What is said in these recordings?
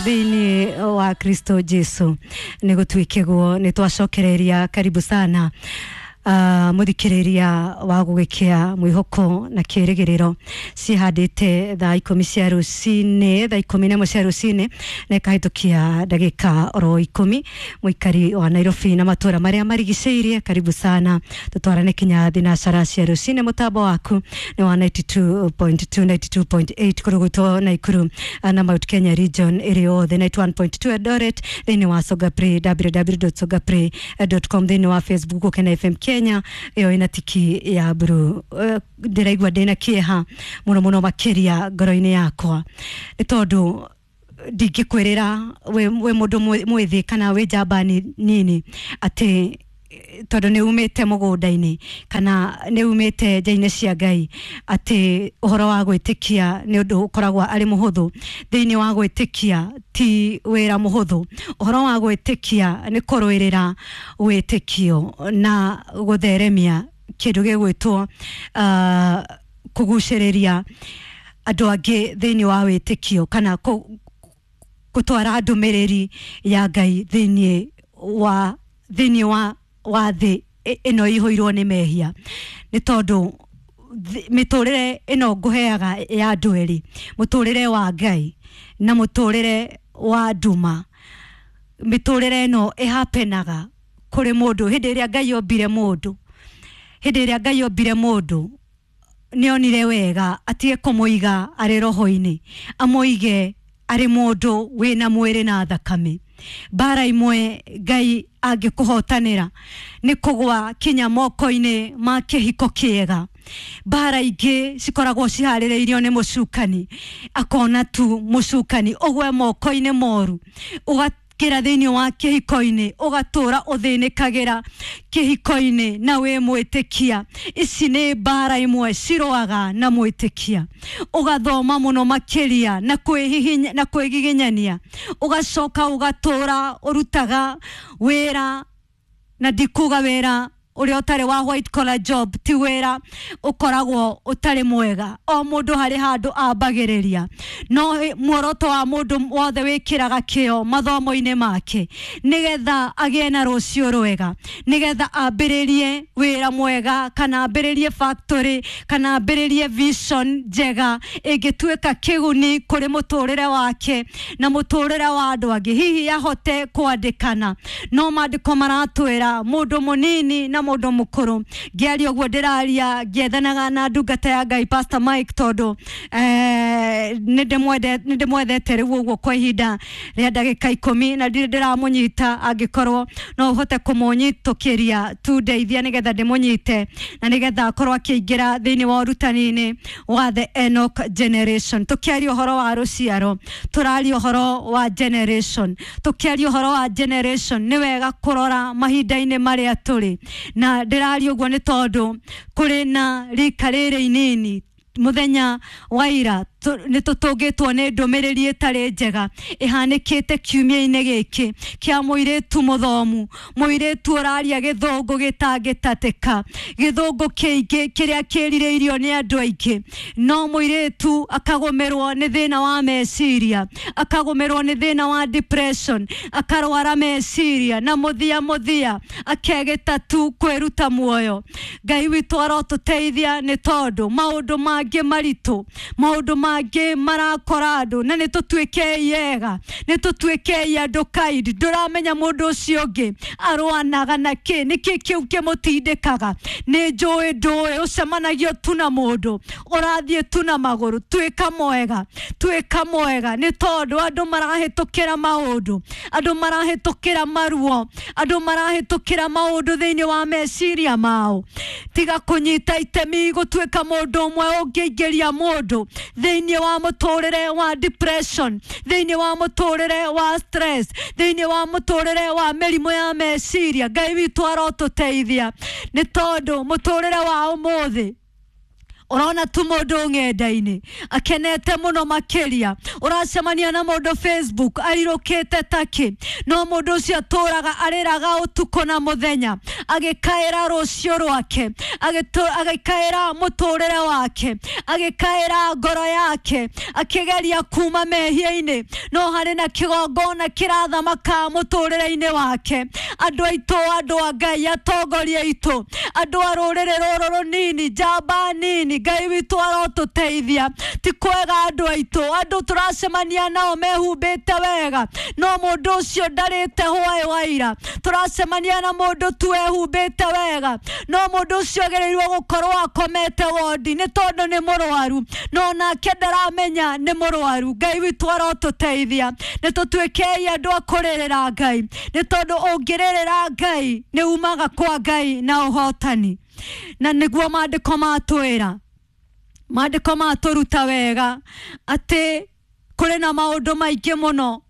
Thĩinĩ wa Kristo Jesu nĩ gũtuĩkĩgwo nĩ twacokereria. Karibu sana muthikiriria wa gugikia mwihoko na kirigiriro cihandite thaa 10 cia rucini, thaa 11 cia rucini na ikahitukia ndagika oro 10. Muikari wa Nairobi na matura maria marigiceirie, karibu sana tutwarane kinya thinacara cia rucini. Mutambo waku ni wa 92.2, 92.8 kurugutwo Naikuru na Mount Kenya region iri yothe, 91.2 Eldoret, thiini wa Songaplay, www.songaplay.com, thiini wa Facebook Gukena FM Kenya iyo ina tiki ya mburu. Ndĩraigua ndĩna kĩeha mũno mũno makĩria ngoro-inĩ yakwa nĩ tondũ ndingĩkwĩrĩra wĩ mũndũ mwĩthĩ kana wĩ njamba nini atĩ tondũ nĩ umĩte mũgũnda-inĩ kana nĩ umĩte nja-inĩ cia Ngai atĩ ũhoro wa gwĩtĩkia nĩ ũndũ ũkoragwo arĩ mũhũthũ. Thĩinĩ wa gwĩtĩkia ti wĩra mũhũthũ. Ũhoro wa gwĩtĩkia nĩ kũrũĩrĩra wĩtĩkio na gũtheremia kĩndũ gĩgwĩtwo kũgucĩrĩria andũ angĩ thĩinĩ wa wĩtĩkio kana gũtwara ndũmĩrĩri ya Ngai thĩinĩ wa thĩ ĩno ĩihũirwo nĩ mehia, nĩ tondũ mĩtũrĩre ĩno ngũheaga ya andũ erĩ, mũtũrĩre wa Ngai na mũtũrĩre wa nduma. Mĩtũrĩre ĩno ĩhapenaga kũrĩ mũndũ hĩndĩ ĩrĩa Ngai ombire mũndũ. Hĩndĩ ĩrĩa Ngai ombire mũndũ nĩ onire wega atige kũmũiga arĩ roho-inĩ, amũige arĩ mũndũ wĩna mwĩrĩ na thakame. Mbara imwe Ngai angĩkũhotanĩra nĩ kũgwa kinya moko-inĩ ma kĩhiko kĩega. Mbara ingĩ cikoragwo ciharĩrĩirio nĩ mũcukani, akona tu mũcukani ũgwe moko-inĩ moru, ũgakĩra thĩinĩ wa kĩhiko-inĩ, ũgatũra ũthĩnĩkagĩra kĩhiko-inĩ na wĩ mwĩtĩkia. Ici nĩ mbara imwe cirũaga na mwĩtĩkia. Ũgathoma mũno makĩria na kwĩhihinya na kwĩgiginyania, ũgacoka ũgatũra ũrutaga wĩra, na ndikuga wĩra ũrĩa ũtarĩ wa white collar job ti wĩra ũkoragwo ũtarĩ mwega. O mũndũ harĩ handũ ambagĩrĩria, no muoroto wa mũndũ wothe wĩkĩraga kĩo mathomo-inĩ make nĩgetha agĩe na rũciũ rwega, nĩgetha ambĩrĩrie wĩra mwega kana ambĩrĩrie factory kana ambĩrĩrie vision njega ĩngĩtuĩka kĩguni kũrĩ mũtũrĩre wake na mũtũrĩre wa andũ angĩ, hihi ahote kwandĩkana. No maandĩko maratwĩra mũndũ mũnini na mũndũ mũkũrũ. Ngĩaria ũguo ndĩraria ngĩethanaga na ndungata ya Ngai Pastor Mike, tondũ nĩ ndĩmwendete rĩu ũguo kwa ihinda rĩa ndagĩka 10 na ndirĩ ndĩramũnyita. Angĩkorwo no ũhote kũmũnyitũkĩria tu, ndeithia nĩgetha ndĩmũnyite na nĩgetha akorwo akĩingĩra thĩinĩ wa ũrutani-inĩ wa the Enoch generation. Tũkĩaria ũhoro wa rũciaro, tũraria ũhoro wa generation. Tũkĩaria ũhoro wa generation, nĩ wega kũrora mahinda-inĩ marĩa tũrĩ, na ndĩraria ũguo nĩ tondũ kũrĩ na rika rĩrĩ inini. Muthenya wa ira nĩ tũtũngĩtwo nĩ ndũmĩrĩri ĩtarĩ njega ĩhanĩkĩte kiumia-inĩ gĩkĩ kĩa mũirĩtu mũthomu, mũirĩtu ũraria gĩthũngũ gĩtangĩtatĩka, gĩthũngũ kĩingĩ kĩrĩa kĩrirĩirio nĩ andũ aingĩ, no mũirĩtu akagũmĩrwo nĩ thĩna wa meciria, akagũmĩrwo nĩ thĩna wa depression, akarwara meciria na mũthia mũthia akegĩta tu kwĩruta muoyo. Ngai witũ arotũteithia, nĩ tondũ maũndũ mangĩ maritũ, maũndũ mangĩ marakora andũ, na nĩ tũtuĩkei ega, nĩ tũtuĩkei andũ kind. Ndũramenya mũndũ ũcio ũngĩ arwanaga na kĩ, nĩkĩ kĩu kĩmũtindĩkaga. Nĩ njũĩ ndũĩ ũcemanagio tu na mũndũ ũrathiĩ tu na magũrũ. Tuĩka mwega, tuĩka mwega, nĩ tondũ andũ marahĩtũkĩra maũndũ, andũ marahĩtũkĩra maruo, andũ marahĩtũkĩra maũndũ thĩinĩ wa meciria mao. Tiga kũnyita itemi gũtuĩka mũndũ ũmwe ũngĩingĩria mũndũ thĩinĩ wa mũtũrĩre wa depression, thĩinĩ wa mũtũrĩre wa stress, thĩinĩ wa mũtũrĩre wa mĩrimũ ya meciria. Ngai witũ arotũteithia, nĩ tondũ mũtũrĩre wa ũmũthĩ ũrona tu mũndũ ng'enda-inĩ akenete mũno makĩria, ũracemania na mũndũ Facebook arirũkĩte takĩ, no mũndũ ũcio atũraga arĩraga ũtukũ na mũthenya. Agĩkaĩra rũciũ rwake, agĩkaĩra mũtũrĩre wake, agĩkaĩra ngoro yake, akĩgeria kuma mehia-inĩ, no harĩ na kĩgongona kĩrathamaka mũtũrĩre-inĩ wake. Andũ aitũ, andũ a Ngai, atongoria aitũ, andũ a rũrĩrĩ rũrũ rũnini, njamba nini, Ngai witũ arotũteithia. Ti kwega andũ aitũ, andũ tũracemania nao mehumbĩte wega, no mũndũ ũcio ndarĩte hwaĩ wa ira. Tũracemania na mũndũ tu ehumbĩte wega, no mũndũ ũcio agĩrĩirwo gũkorwo akomete wondi nĩ tondũ nĩ mũrwaru, no nake ndaramenya nĩ mũrwaru. Ngai witũ arotũteithia. Nĩ tũtuĩkei andũ a kũrĩrĩra Ngai, nĩ tondũ ũngĩrĩrĩra Ngai nĩ umaga kwa Ngai na ũhotani. Na nĩguo maandĩko matwĩra, maandĩko matũruta wega atĩ kũrĩ na maũndũ maingĩ mũno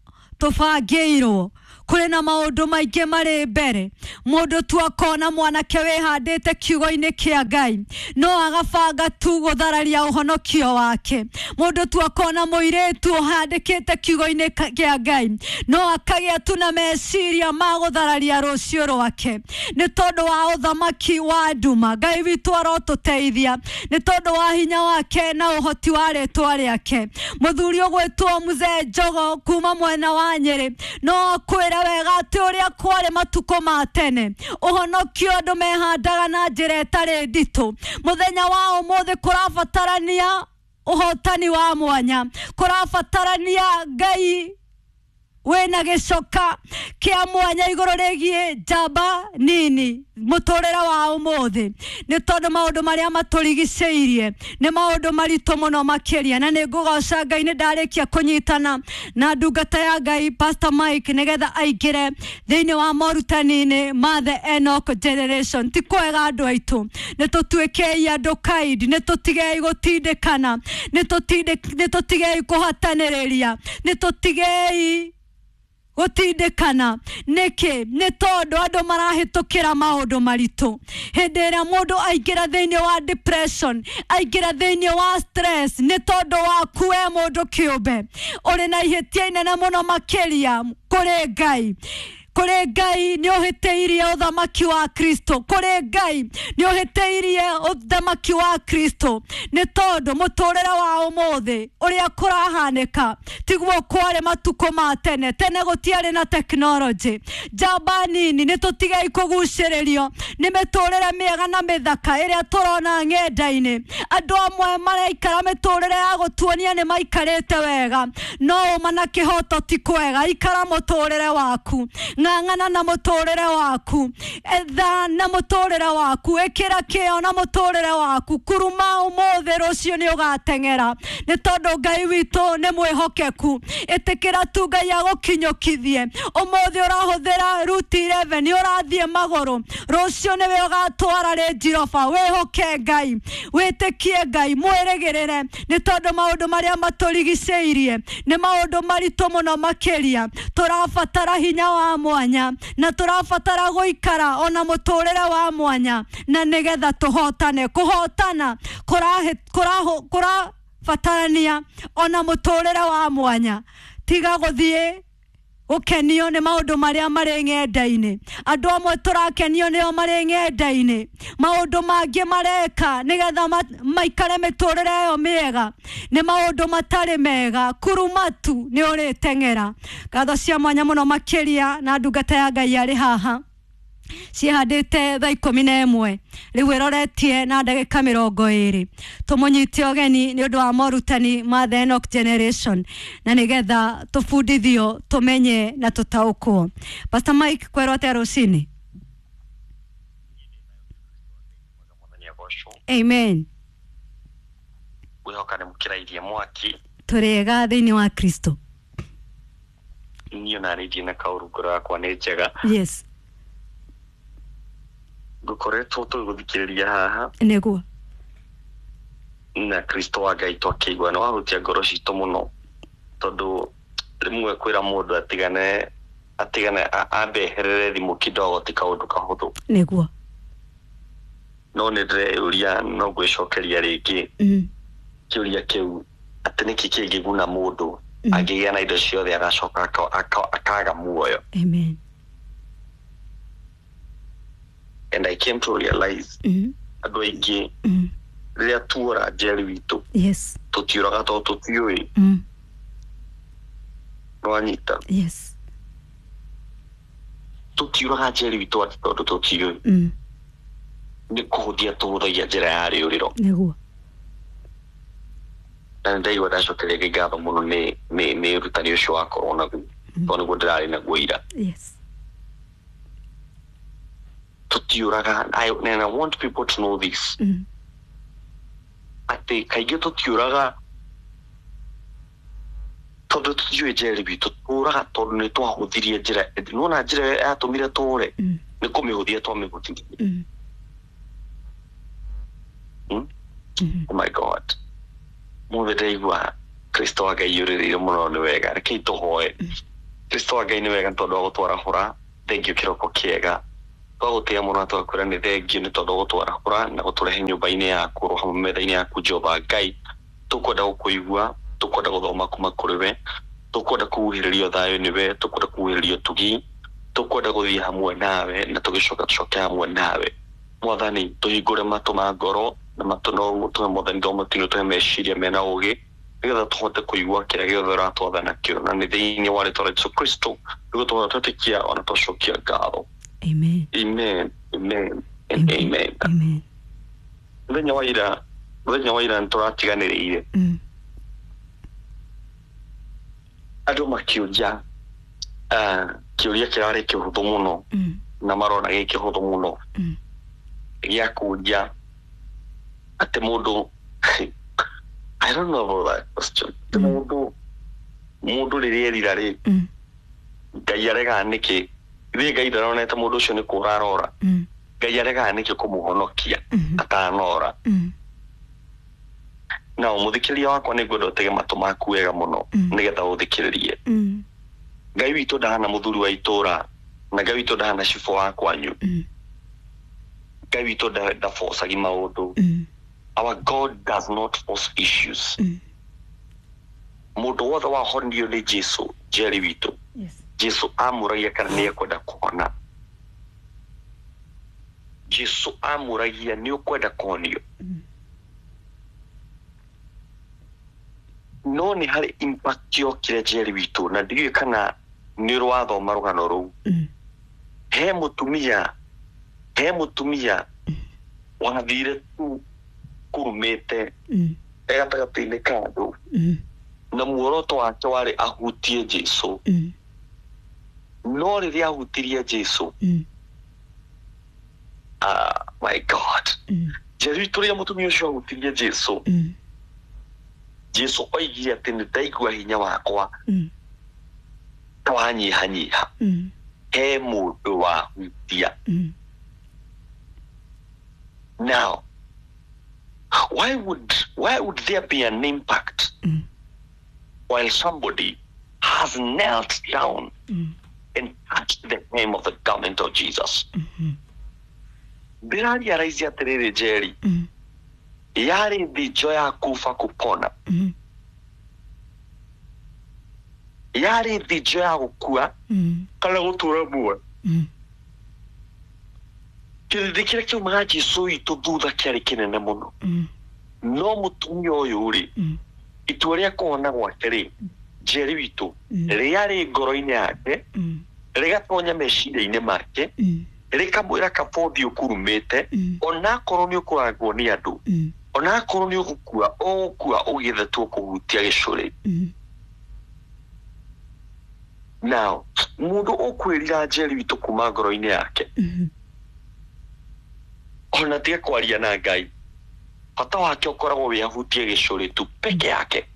tũbangĩirwo, kũrĩ na maũndũ maingĩ marĩ mbere. Mũndũ tu akona mwanake wĩhandĩte kiugo-inĩ kĩa Ngai, no agabanga tu gũthararia ũhonokio wake. Mũndũ tu akona mũirĩtu ũhandĩkĩte kiugo-inĩ kĩa Ngai, no akagĩa tu na meciria ma gũthararia rũciũ rwake, nĩ tondũ wa ũthamaki wa nduma. Ngai witũ arotũteithia nĩ tondũ wa hinya wake na ũhoti wa rĩtwa rĩake. Mũthuri ũgwĩtwo Mzee Njogo kuma mwena wa Nyĩrĩ no akwĩre wega atĩ ũrĩa kwarĩ matukũ ma tene, ũhonokio andũ mehandaga na njĩra ĩtarĩ nditũ. Mũthenya wa ũmũthĩ kũrabatarania ũhotani wa mwanya, kũrabatarania Ngai wĩna gĩcoka kĩa mwanya igũrũ rĩgiĩ njamba nini mũtũrĩre wa ũmũthĩ, nĩ tondũ maũndũ marĩa matũrigicĩirie nĩ maũndũ maritũ mũno makĩria. Na nĩ ngũgoca Ngai nĩ ndarĩkia kũnyitana na ndungata ya Ngai Pastor Mike nĩgetha aingĩre thĩinĩ wa morutani-inĩ ma the Enoch generation. Ti kwega andũ aitũ, nĩ tũtuĩkei andũ kind, nĩ tũtigei gũtindĩkana, nĩ tũtigei kũhatanĩrĩria, nĩ tũtigei gũtindĩkana. Nĩkĩ? Nĩ tondũ andũ marahĩtũkĩra maũndũ maritũ. Hĩndĩ ĩrĩa mũndũ aingĩra thĩinĩ wa depression, aingĩra thĩinĩ wa stress, nĩ tondũ waku we mũndũ kĩũmbe ũrĩ na ihĩtia inene mũno makĩria kũrĩ Ngai. Kũrĩ Ngai nĩ ũhĩtĩirie ũthamaki wa Kristo, kũrĩ Ngai nĩ ũhĩtĩirie ũthamaki wa Kristo, nĩ tondũ mũtũrĩre wa ũmũthĩ ũrĩa kũrahanĩka tiguo kwarĩ matukũ ma tene. Tene gũtiarĩ na tekinoronjĩ. Njamba nini, nĩ tũtigei kũgucĩrĩrio nĩ mĩtũrĩre mĩega na mĩthaka ĩrĩa tũrona ng'enda-inĩ. Andũ amwe maraikara mĩtũrĩre ya gũtuonia nĩ maikarĩte wega, no ũma na kĩhoto ti kwega. Ikara mũtũrĩre waku, ng'ang'ana na mũtũrĩre waku, etha na mũtũrĩre waku, ĩkĩra kĩo na mũtũrĩre waku. Kuruma ũmũthĩ, rũciũ nĩ ũgateng'era, nĩ tondũ Ngai witũ nĩ mwĩhokeku. Ĩtĩkĩra tu Ngai agũkinyũkithie. Ũmũthĩ ũrahũthĩra Route 11, ũrathiĩ magũrũ, rũciũ nĩwe ũgatwara Range Rover. Wĩhoke Ngai, wĩtĩkie Ngai, mwĩrĩgĩrĩre, nĩ tondũ maũndũ marĩa matũrigicĩirie nĩ maũndũ maritũ mũno makĩria. Tũrabatara hinya wa mwanya na tũrabatara gũikara ona mũtũrĩre wa mwanya, na nĩgetha tũhotane. Kũhotana kũrabatarania ona mũtũrĩre wa mwanya. Tiga gũthiĩ gũkenio nĩ maũndũ marĩa marĩ ng'enda-inĩ. Andũ amwe tũrakenio nĩo marĩ ng'enda-inĩ, maũndũ mangĩ mareka nĩgetha maikare mĩtũrĩre ĩyo mĩega nĩ maũndũ matarĩ mega. Kuruma tu nĩ ũrĩteng'era. Ngatho cia mwanya mũno makĩria na ndungata ya Ngai arĩ haha ciĩhandĩte thaa 11 rĩu ĩroretie na ndagĩka 20. Tũmũnyite ũgeni nĩ ũndũ wa morutani ma the Enoch generation, na nĩgetha tũbundithio, tũmenye na tũtaũkwo. Pastor Mike, kwerwo atĩa rũcinĩ? Amen. Ngwĩhoka nĩ mũkĩrairie mwaki. Tũrĩega thĩinĩ wa Kristo. Niĩ ona nĩ na kaũru, ngoro yakwa nĩ njega. Yes. Ngũkoretwo tũgũthikĩrĩria haha Nĩguo. na Kristo wa Ngai twakĩigua nĩ wahutia ngoro citũ mũno, tondũ rĩmwe kwĩra mũndũ atigane ambe eherere thimũ kidogo ti kaũndũ kahũthũ. Nĩguo. No nĩ ndĩreyũria, no ngwĩcokeria rĩngĩ kĩũria kĩu atĩ nĩkĩ kĩngĩguna mũndũ angĩgĩa na indo ciothe agacoka akaga muoyo? Amen. And I came to realize andũ aingĩ rĩrĩa tuora njeri witũ, tũtiũraga tondũ tũtiũĩ. Nĩwanyita? Yes. Tũtiũraga njeri witũ atĩ tondũ tũtiũĩ, nĩ kũhũthia tũhũthagia njĩra ya rĩũrĩro. Nĩguo. Na nĩ ndaigua ndacokeria Ngai ngatho mũno nĩ ũrutani ũcio wakorwo naguo, tondũ nĩguo ndĩrarĩ naguo ira. Tũtiũraga, and I want people to know this, atĩ kaingĩ tũtiũraga tondũ tũtiũĩ njeri witũ, tũraga tondũ nĩ twahũthirie njĩra. Nĩwona njĩra ĩrĩa yatũmire tũre, nĩ kũmĩhũthia twamĩhũthirie. Oh my God, mũthĩ ndaigua Kristo wa Ngai yũrĩrĩire mũno. Nĩ wega, rekei tũhoe. Kristo wa Ngai, nĩ wega nĩ tondũ wa gũtwarahũra. Thengiũ kĩroko kĩega, twagũtĩĩa mũno na tũgakwĩra nĩ thengiũ nĩ tondũ wa gũtwarahũra na gũtũrehe nyũmba-inĩ yaku oro hamwe metha-inĩ yaku. Jehova Ngai, tũkwenda gũkũigua, tũkwenda gũthoma kuma kũrĩ we, tũkwenda kũhuhĩrĩrio thayũ nĩwe, tũkwenda kũhuhĩrĩrio tugi, tũkwenda gũthiĩ hamwe nawe na tũgĩcoka tũcoke hamwe nawe. Mwathani, tũhingũre matũ ma ngoro na matũ no tũhe, Mwathani, thomo tino tũhe meciria mena ũgĩ nĩgetha tũhote kũigua kĩrĩa gĩothe ũratwatha nakĩo, na nĩ thĩinĩ wa rĩtwa rĩa Jesũ Kristo nĩguo tũhote twetĩkia ona twacokia ngatho. Amen. Amen, amen and amen. Amen. Mũthenya wa ira nĩ tũratiganĩrĩire andũ makĩũria kĩũria kĩrarĩ kĩhũthũ mũno na marona gĩ kĩhũthũ mũno, gĩa kũũria atĩ mũndũ, I don't know about that question, atĩ mũndũ rĩrĩa erira rĩ, Ngai aregaga nĩkĩ? Ithuĩ Ngai ndaronete mũndũ ũcio nĩ kũra arora. Ngai aregaga nĩkĩ kũmũhonokia atanora? Na mũthikĩrĩria wakwa, nĩ ngwenda ũtege matũ maku wega mũno nĩgetha ũthikĩrĩrie. Ngai witũ ndahana mũthuri wa itũra, na Ngai witũ ndahana cibũ wa kwanyu. Ngai witũ ndabocagi maũndũ. Our God does not force issues. Mũndũ wothe wahonirio nĩ Jesu, njeri witũ, Jesu amũragia kana nĩ ekwenda kũhona. Jesu amũragia, nĩ ũkwenda kũhonio? No nĩ harĩ impact yokire, njeri witũ, na ndiũĩ kana nĩ ũrwathoma rũgano rũu. He mũtumia wathire tu kurumĩte e gatagatĩ-inĩ ka andũ, na muoroto wake warĩ ahutie Jesu. No rĩrĩa ahutirie Jesu, ah, my God, njeri witũ, rĩrĩa mũtumia ũcio ahutirie Jesu, Jesu oigire atĩ nĩ ndaigua hinya wakwa ta wanyihanyiha. He mũndũ wahutia. Now why would there be an impact while somebody has knelt down and touched the hem of the garment of Jesus? Ndĩrarealize atĩrĩrĩ, njeri, yarĩ thinjo ya kufa kupona, yarĩ thinjo ya gũkua kana gũtũra muoyo. Kĩrĩndĩ kĩrĩa kĩaumaga Jesu witũ thutha kĩarĩ kĩnene mũno, no mũtumia ũyũ rĩ, itua rĩa kũhona gwake rĩ, njeri witũ, rĩarĩ ngoro-inĩ yake, rĩgatonya meciria-inĩ make, rĩkamwĩra kabothi ũkurumĩte, onakorwo nĩ ũkũrangwo nĩ andũ, onakorwo nĩ ũgũkua, ũgũkua ũgĩthetwo kũhutia gĩcũrĩ. Now mũndũ ũkwĩrira, njeri witũ, kuma ngoro-inĩ yake, ona tige kwaria na Ngai, bata wake ũkoragwo wĩ ahutie gĩcũrĩ tu peke yake,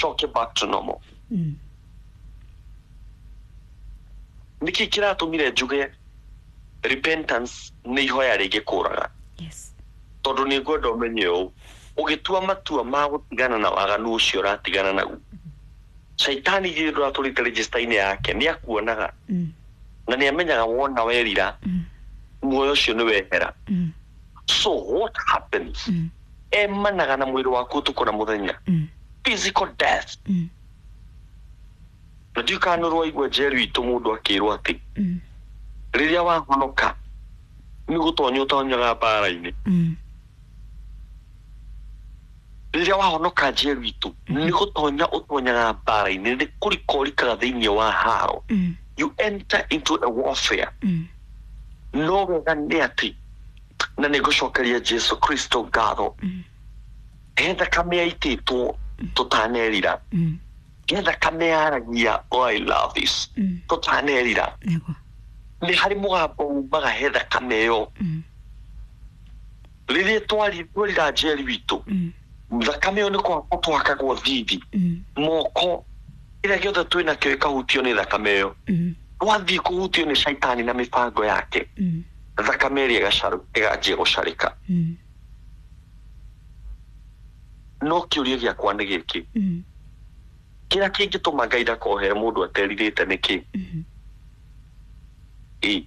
coke back to normal. Nĩkĩ kĩratũmire njuge repentance nĩ ihoya rĩngĩkũraga? Tondũ nĩ ngwenda ũmenye ũũ, ũgĩtua matua ma gũtigana na waganu ũcio ũratigana naguo, caitani githĩ ndũratũrĩte register-inĩ yake? Nĩ akuonaga na nĩ amenyaga wona werira, muoyo ũcio nĩ wehera. So what happens, emanaga na mwĩrĩ waku ũtukũ na mũthenya, physical death. Na ndiũ kana nĩ ũraigua, njeri witũ, mũndũ akĩrwo atĩ rĩrĩa wahonoka Nĩ gũtonya ũtonyaga mbara-inĩ. Rĩrĩa wahonoka Njeri witũ, nĩ gũtonya ũtonyaga mbara-inĩ, nĩ kũrika ũrikaga thĩinĩ wa haro. You enter into a warfare. No wega nĩ atĩ, na nĩ ngũcokeria Jesu Kristo ngatho, he thakame yaitĩtwo tũtanerira, he thakame yaragia, oh, I love this, tũtanerira. Nĩ harĩ mũgambo umaga he thakame ĩyo. Rĩrĩa twarira Njeri witũ, thakame ĩyo nĩ kũhakwo twakagwo thithi, moko, kĩrĩa gĩothe twĩ nakĩo ĩkahutio nĩ thakame ĩyo. Twathiĩ kũhutio nĩ caitani na mĩbango yake, thakame ĩrĩa ĩganjia gũcarĩka. No kĩũria gĩakwa nĩ gĩkĩ, kĩrĩa kĩngĩtũma Ngai ndakohere mũndũ aterirĩte nĩ kĩ? Ĩ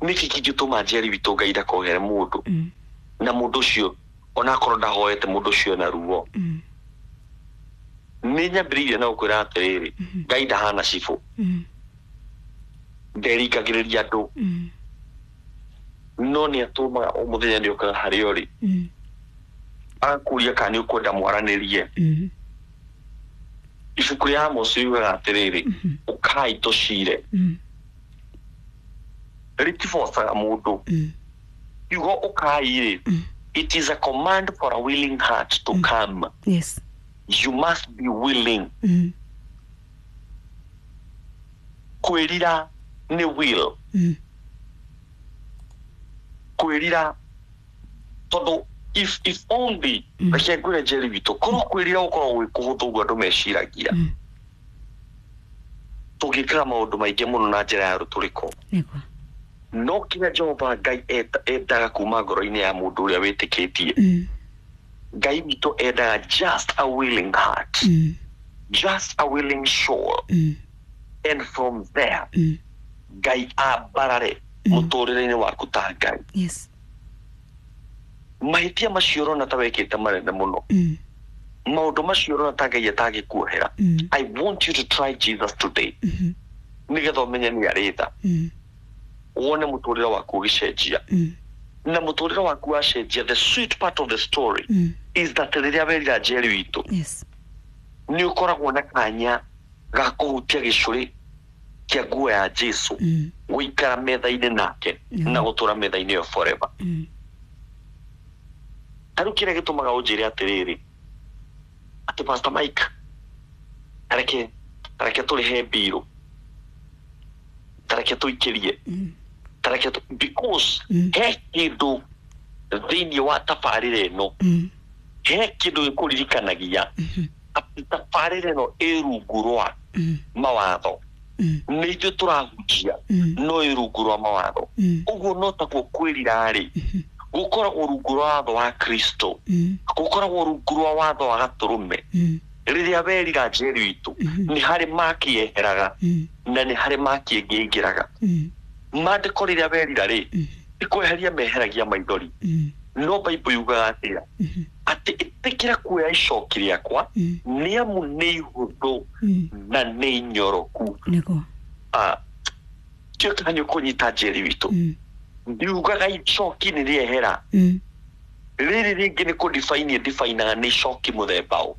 nĩkĩ kĩngĩtũma Njeri witũ Ngai ndakohere mũndũ, na mũndũ ũcio onakorwo ndahoete, mũndũ ũcio ena ruo? Nĩ nyambĩrĩirie na gũkwĩra atĩrĩrĩ, Ngai ndahana cibũ, nderingagĩrĩria andũ, no nĩ atũmaga o mũthenya nĩ okaga harĩa ũrĩ, agakũria kana nĩ ũkwenda mwaranĩrie. Ibuku rĩa Amos riugaga atĩrĩrĩ, ũkai tũcire. Rĩtibocaga mũndũ. Kiugo ũkai rĩ, it is a command for a willing heart to come. You must be willing. Kwĩrira nĩ will. Kwĩrira, tondũ if only, reke ngwĩre Njeri witũ, korwo kwĩrira gũkoragwo gwĩ kũhũthũ ũguo andũ meciragia, tũngĩkaga maũndũ maingĩ mũno na njĩra ya rũtũrĩko. No kĩrĩa Jehova Ngai endaga kuma ngoro-inĩ ya mũndũ ũrĩa wĩtĩkĩtie, Ngai witũ endaga just a willing heart, just a willing soul, and from there Ngai ambarare mũtũrĩre-inĩ waku ta Ngai. Mahĩtia macio ũrona ta wekĩte manene mũno, maũndũ macio ũrona ta Ngai atangĩkuohera, I want you to try Jesus today, nĩgetha ũmenye nĩ arĩ tha, wone mũtũrĩre waku ũgĩcenjia. Na mũtũrĩre waku wacenjia, the sweet part of the story is that rĩrĩa werira, Njeri witũ, nĩ ũkoragwo na kanya ga kũhutia gĩcũrĩ kĩa nguo ya Jesu, gũikara metha-inĩ nake, na gũtũra metha-inĩ ĩyo forever. Ta rĩu kĩrĩa gĩtũmaga ũnjĩre atĩrĩrĩ, atĩ Pastor Mike, tareke tũrĩhe mbirũ, tareke tũikĩrie, tareke because he kĩndũ thĩinĩ wa tabarĩra ĩno, he kĩndũ gĩkũririkanagia atĩ tabarĩra ĩno ĩ rungu rwa mawatho. Nĩ ithuĩ tũrahunjia, no ĩ rungu rwa mawatho. Ũguo no taguo kwĩrira rĩ, gũkoragwo rungu rwa watho wa Kristo, gũkoragwo rungu rwa watho wa gatũrũme. Rĩrĩa werira, Njeri witũ, nĩ harĩ maki yeheraga na nĩ harĩ maki ĩngĩ ĩingĩraga. Maandĩko, rĩrĩa werira rĩ, nĩ kweheria meheragia maithori, no Bible yugaga atĩa? Atĩ ĩtĩkĩra kuoya icoki rĩakwa, nĩ amu nĩ ihũthũ na nĩ inyoroku. Tio kana nĩ ũkũnyita, Njeri witũ? Ndiugaga icoki nĩ rĩehera. Rĩrĩ rĩngĩ nĩ kũ-define definaga nĩ icoki mũthemba ũ.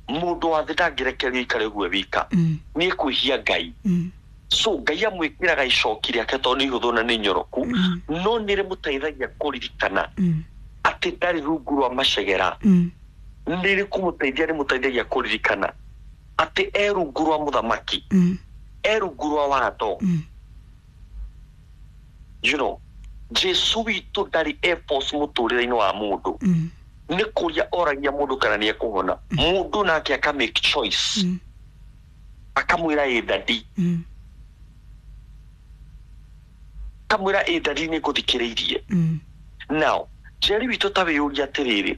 Mũndũ wa thĩ ndangĩrekererio aikare ũguo wika, nĩ ekwĩhia Ngai. So Ngai amwĩkĩraga icoki rĩake tondũ nĩ ihũthũ na nĩ nyoroku, no nĩ rĩmũteithagia kũririkana atĩ ndarĩ rungu rwa macegera. Nĩ rĩkũmũteithia, rĩmũteithagia kũririkana atĩ e rungu rwa mũthamaki, e rungu rwa watho. Jesu witũ ndarĩ e force mũtũrĩre-inĩ wa mũndũ. Nĩ kũria oragia mũndũ kana nĩ ekũhona. Mũndũ nake aka make choice, akamwĩra, "Ĩ daddy." Akamwĩra, "Ĩ daddy, nĩ ngũthikĩrĩirie." Now, Njeri witũ, ta wĩyũria atĩrĩrĩ,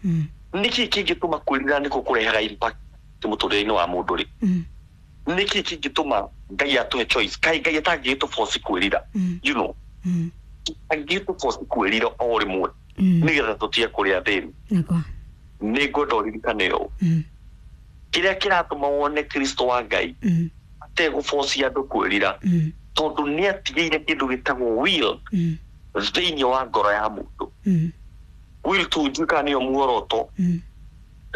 nĩkĩ kĩngĩtũma kwĩrira nĩkuo kũrehaga impact mũtũrĩre-inĩ wa mũndũ rĩ? Nĩkĩ kĩngĩtũma Ngai atũhe choice? Kaĩ Ngai atangĩgĩtũ force kwĩrira? Angĩgĩtũ force kwĩrira o rĩmwe nĩgetha tũtige kũrĩa thĩni. Nĩ ngwenda ũririkane ũũ, kĩrĩa kĩratũma wone Kristo wa Ngai ategũbocia andũ kwĩrira, Tondũ nĩ atigĩire kĩndũ gĩtagwo will thĩinĩ wa ngoro ya mũndũ. Will tu njuka nĩyo muoroto.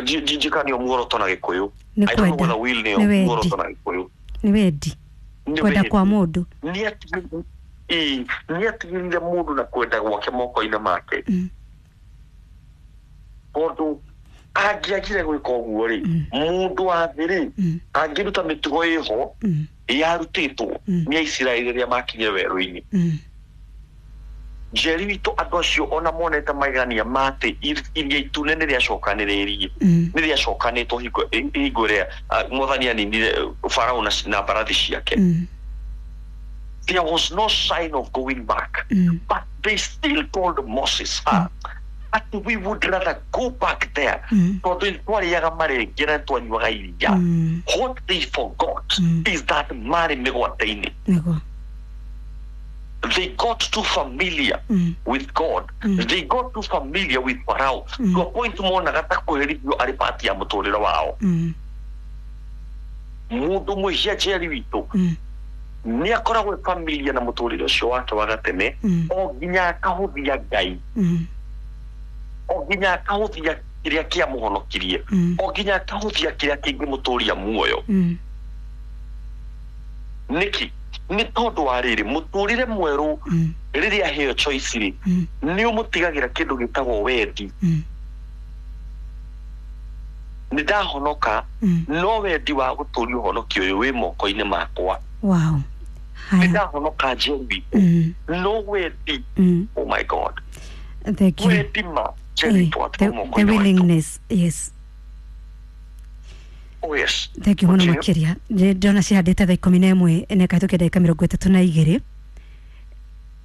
Njuka nĩyo muoroto na Gĩkũyũ. Nĩ I don't know kwenda. whether will nĩyo Nĩ wendi. muoroto na Gĩkũyũ. Nĩ wendi. Nĩ Kwenda wendi. kwa mũndũ. Nĩ atigĩrĩire mũndũ na kwenda gwake moko-inĩ make. Tondũ angĩagire gwĩka ũguo rĩ, mũndũ wa thĩ rĩ, angĩruta mĩtugo ĩho yarutĩtwo nĩ Aisiraeli rĩrĩa makinyire werũ-inĩ. Njeri witũ andũ acio ona monete magegania ma atĩ iria itune nĩ rĩacokanĩrĩirie, nĩ rĩacokanĩtwo hingo ĩrĩa Mwathani aninire Farao na mbarathi ciake. There was no sign of going back. But they still told Moses, that we would rather go back there. Tondũ twarĩaga marenge na twanyuaga iria. What they forgot is that marĩ mĩgwate-inĩ. Nĩguo. They got too familiar with God. They got too familiar with Pharaoh. To a point monaga ta kwĩherithio arĩ part ya mũtũrĩre wao. Mũndũ mwĩhia Njeri witũ nĩ akoragwo e familiar na mũtũrĩre ũcio wake wa gatene, o nginya akahũthia Ngai, o nginya akahũthia kĩrĩa kĩamũhonokirie, o nginya akahũthia kĩrĩa kĩngĩmũtũria muoyo. Nĩkĩ? Nĩ tondũ wa rĩrĩ, mũtũrĩre mwerũ rĩrĩa aheo choice rĩ, nĩ ũmũtigagĩra kĩndũ gĩtagwo wendi. Nĩ ndahonoka, no wendi wa gũtũria ũhonokio ũyũ wĩ moko-inĩ makwa. Wow. Nĩ Haya. ndahonoka Njeri, no wendi. Oh my God. Thank you. Wendi ma Njeri The twatwo moko-inĩ maitũ. willingness. Yes. Oh yes. Thank you mũno Continue. makĩria. Ndĩrona cihandĩte thaa 11 na ĩkahĩtũkia ndagĩka 32.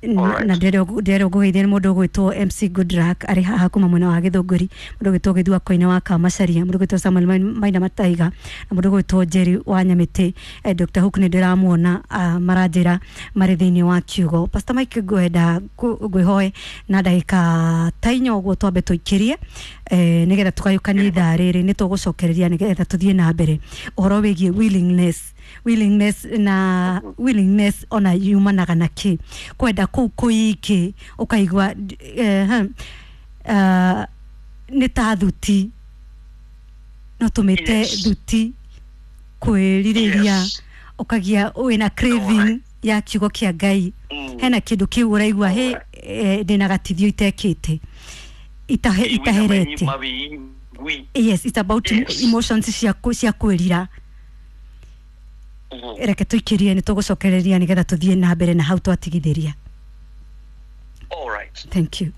Alright. Na ndĩrenda ngũgeithia nĩ mũndũ ũgwĩtwo MC Goodluck arĩ haha kuma mwena wa Gĩthũngũri, mũndũ ũgwĩtwo Gĩthua Koine wa Kamacaria, mũndũ ũgwĩtwo Samuel Maina Mataiga, na mũndũ ũgwĩtwo Jerry wa Nyamĩtĩ. Dr. Hook nĩ ndĩramuona, maranjĩra marĩ thĩinĩ wa kiugo. Pastor Mike, ngwenda ngwĩhoe na ndagĩka ta inya ũguo twambe tũikĩrie, nĩgetha tũgayũkanie ithaa rĩrĩ, nĩ tũgũcokereria nĩgetha tũthiĩ na mbere ũhoro wĩgiĩ willingness na willingness ona yumanaga na kĩ, kwenda kũu kũingĩ ũkaigua nĩ ta thuti, no tũmĩte thuti kwĩrirĩria, ũkagia wĩna craving ya kiugo kĩa Ngai. Hena kĩndũ kĩu ũraigua hĩ, ndĩna gatithio itekĩte, itaherete. Mawĩigwi. Yes, it's about emotions cia kwĩrira. Reke tũikĩrie, nĩ tũgũcokereria nĩgetha tũthiĩ na mbere na hau twatigithĩria. All right. Thank you.